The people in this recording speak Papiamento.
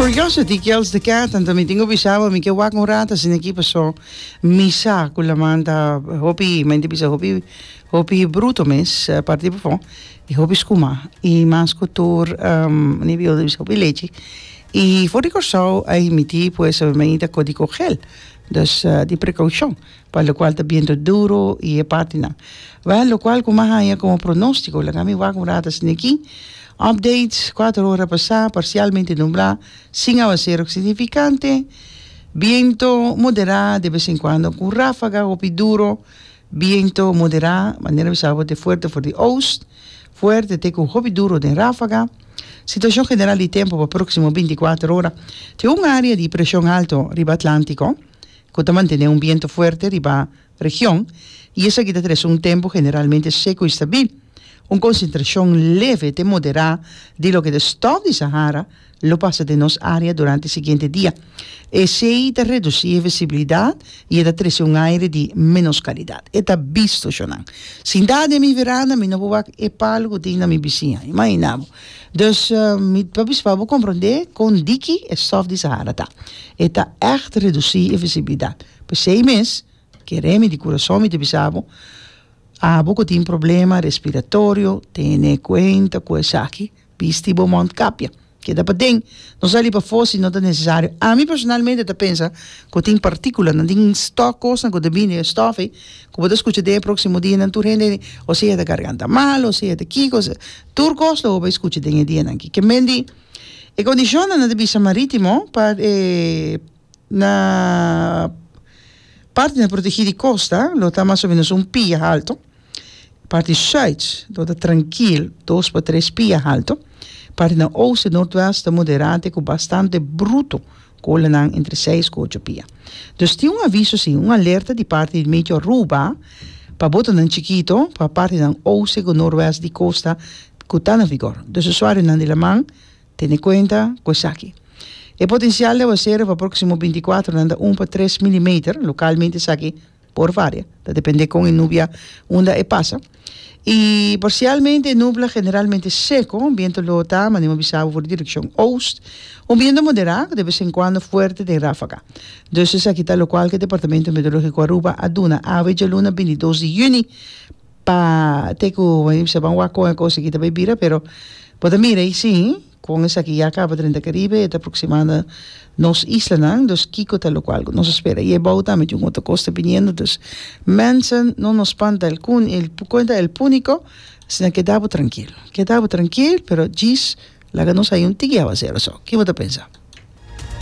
Curiosity kills the cat, anto mi tin ku bisa bo mi ke wak un rato asina aki paso mi sa ku laman ta hopi, mi ta bisa hopi hopi bruto mes parti pafó i hopi skuma i mas ku tur mi ta bisa hopi lechi i for di Kòrsou a emití pues e medida kódigo gel dus di prekoushon. Pa lokual ta biento duro i e partinan. Wèl, lokual ku m'a haña komo pronóstiko, laga mi wak un rato asina aki. Update, kuater ora pasá, parsialmente nublá, sin awasero signifikante, biento moderá, de bes en kuando ku ráfaga hopi duro, biento moderá, manera mi sa bo te fuerte for di oost, fuerte te ku hopi duro den ráfaga. Situashon general di tempu pa próksimo binti kuater ora, Tin un área di preshon alto riba Atlántiko. ku ta mantené un bientu fuerte riba region i esaki ta trese un tempu generalmente seku i stabil. Un konsentrashon leve te moderá di loke ta stòf di Sahara lo pasa den nos área durante e siguiente dia. Esei ta redusí e visibilidat i e ta trese un aire di ménos kalidat. E ta bisto, shonnan. Sintá den mi veranda mi no por wak e palu ku tin na mi bisiña. Imaginá bo. Dus mi ta bisa pa bo komprondé kon diki e stòf di Sahara ta. E ta ègt redusí e visibilidat. P'esei mes, kere mi di kurason mi ta bisa bo, abo ku tin problema respiratorio, tene kuenta ku esaki, bisti bo mondkapia. Keda paden, no sali pafó si no ta nesesario. Ami personalmente ta pensa ku tin partíkulanan, tin stòf, kosnan ku ta bini den e stòf ei, ku bo ta skucha den e próksimo dianan tur hende o sea ta garganta mal, o sea ta kiko, tur kos lo bo bai skucha den e dianan aki. Ke men di. E kondishonnan na ta bisa marítimo pa e na partinan protegí di kosta lo ta mas o menos un pia halto. Parti sùit lo ta trankil dos pa tres pia halto. Partinan oost i noordwest ta moderá te ku bastante bruto ku olanan entre seis ku ocho pia. Dus tin un aviso si, un alerta di parti di Meteo Aruba pa botonan chikito pa partinan oost i ku noordwest di kosta ku ta na vigor. Dus usuarionan di laman tene kuenta ku esaki. E potensial di awasero pa próksimo binti kuater nan ta un pa tres milimeter, lokalmente esaki por varia, ta depende kon e nubia unda e pasa. I parsialmente nubla generalmente seko, bientu lo ta manera mi a bisa bo for di direkshon oost, un bientu moderá ku de bes en kuando fuerte den ráfaga. Dus esaki ta lokual ku e Departamento Meteorológiko Aruba a duna awe djaluna bintidos di yüni. Pa te ku mi bisa ban wak kon e kos aki ta bai bira pero bo ta mira ei si kon esaki ya kaba drenta Karibe e ta aproksimando nos islanan dus kiko ta lokual ku nos a spera i e bou tambe tin un otro kos ta biniendo dus mensen no nos spanta el kun el kuenta el puniko asina keda bo trankil keda bo trankil pero djis laga nos haña un tiki awasero so ki bo ta pensa?